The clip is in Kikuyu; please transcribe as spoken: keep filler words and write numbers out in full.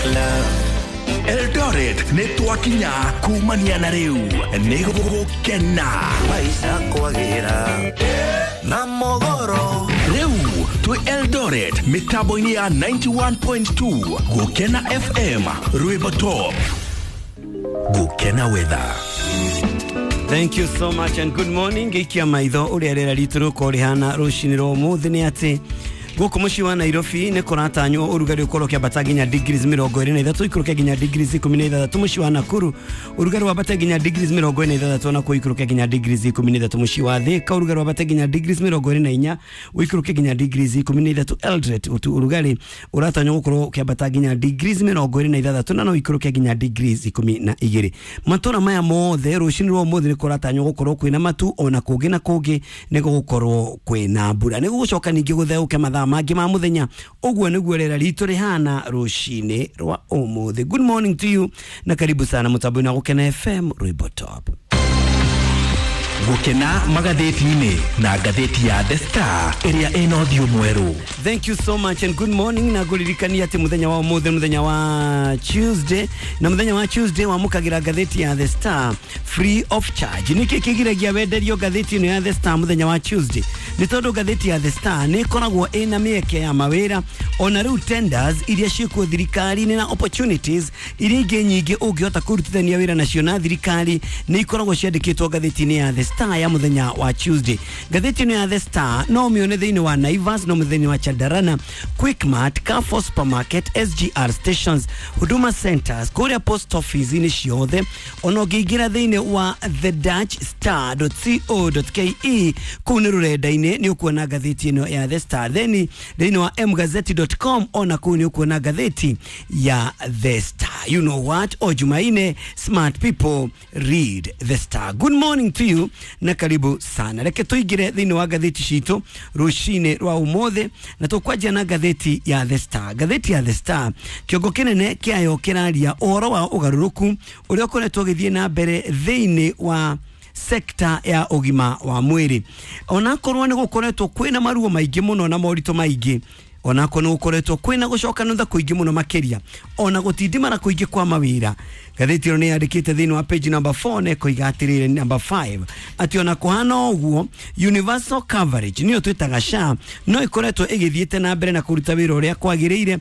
Love. Eldoret nĩ twakinya kumania na rĩu nĩ gũgũkena. Maisha kwagĩra na mogoro. Rĩu twĩ Eldoret mĩtambo-inĩ ya ninety-one point two Gũkena F M, rwĩmbo top. Gũkena weather. Thank you so much and good morning. Ngĩikia maitho ũrĩa rĩera ritũ rĩgũkorwo rĩhana rũcinĩ rwa ũmũthĩ nĩ atĩ gũkũ mũciĩ wa Nairobi nĩ kũratanywo ũrugarĩ ũkorwo ũkĩambata nginya degrees mĩrongo ĩrĩ na ithatũ, ikũrũke nginya degrees ikũmi na ithathatũ. Mũciĩ wa Nakuru ũrugarĩ wambate nginya degrees mĩrongo ĩna na ithathatũ, ona kuo ikũrũke nginya degrees ikũmi na ithatũ. Mũciĩ wa Thika ũrugarĩ wambate nginya degrees mĩrongo ĩrĩ na inya, ũikũrũke nginya degrees ikũmi na ithatũ. Eldoret ũtu ũrugarĩ ũratanywo gũkorwo ũkĩambata nginya degrees mĩrongo ĩrĩ na ithathatũ na no ikũrũke nginya degrees ikũmi na igĩrĩ. Matũra maya mothe rũcinĩ rwa ũmũthĩ nĩ kũratanywo gũkorwo kwĩna matu, ona kũngĩ na kũngĩ nĩ gũgũkorwo kwĩna mbura. Nĩ gũgũcoka ningĩ gũtheũke mathaa mangĩ ma mũthenya. Ũguo nĩguo rĩera ritũ rĩhana rũcinĩ rwa ũmũthĩ. Good morning to you na karibu sana mũtambo-inĩ wa Gũkena F M, rwĩmbo top. Gũkena magathĩti-inĩ na ngathĩti ya The Star ĩrĩa ĩna ũthiũ mwerũ. Thank you so much and good morning. Na ngũririkania atĩ mũthenya wa ũmũthĩ, mũthenya wa Tuesday, na mũthenya wa Tuesday wamũkagĩra ngathĩti ya The Star free of charge. Nĩkĩ kĩgiragia wenderio ngathĩti ĩno ya The Star mũthenya wa Tuesday? Nĩ tondũ ngathĩti ya The Star nĩ ĩkoragwo ĩna mĩeke ya mawĩra, ona rĩu tenders iria ciĩkuo thirikari-inĩ na opportunities iria ingĩ nyingĩ ũngĩhota kũrutithania wĩra nacio na thirikari nĩ ikoragwo ciandĩkĩtwo ngathĩti-inĩ ya The Star ya mũthenya wa Tuesday. Ngathĩti ĩno ya The Star no ũmĩone thĩinĩ wa Naivas, no thĩinĩ wa Chandarana, Quickmart, Carrefour Supermarket, S G R stations, Huduma Centers, kũrĩa post office-inĩ ciothe. Ona ũngĩingĩra thĩinĩ wa the dash star dot co dot ke, kũu nĩ rũrenda-inĩ, nĩ ũkuona ngathĩti ĩno ya The Star. Then thĩinĩ wa mgazeti dot com, ona kũu nĩ ũkuona ngathĩti ya The Star. You know what, o Jumaine, smart people read The Star. Good morning to you na karibu sana. Reke tũingĩre thĩinĩ wa ngathĩti citũ rũcinĩ rwa ũmũthĩ, na tũkwanjia na ngathĩti ya The Star. Ngathĩti ya The Star, kĩongo kĩnene kĩayo kĩraria ũhoro wa ũgarũrũku ũrĩa ũkoretwo ũgĩthiĩ na mbere thĩinĩ wa sekta ya ũgima wa mwĩrĩ. Onakorwo nĩ gũkoretwo kwĩna maruo maingĩ mũno na moritũ maingĩ, onakorwo nĩ gũkoretwo kwĩna gũcoka nutha kũingĩ mũno makĩria, ona gũtindimara kũingĩ kwa mawĩra, ngathĩti ĩno nĩ yandĩkĩte thĩinĩ wa page number four na ĩkoiga atĩrĩrĩ, number five, atĩ ona kũhana ũguo, universal coverage, nĩyo twĩtaga SHA, no ĩkoretwo ĩgĩthiĩte na mbere na kũruta wĩra ũrĩa kwagĩrĩire.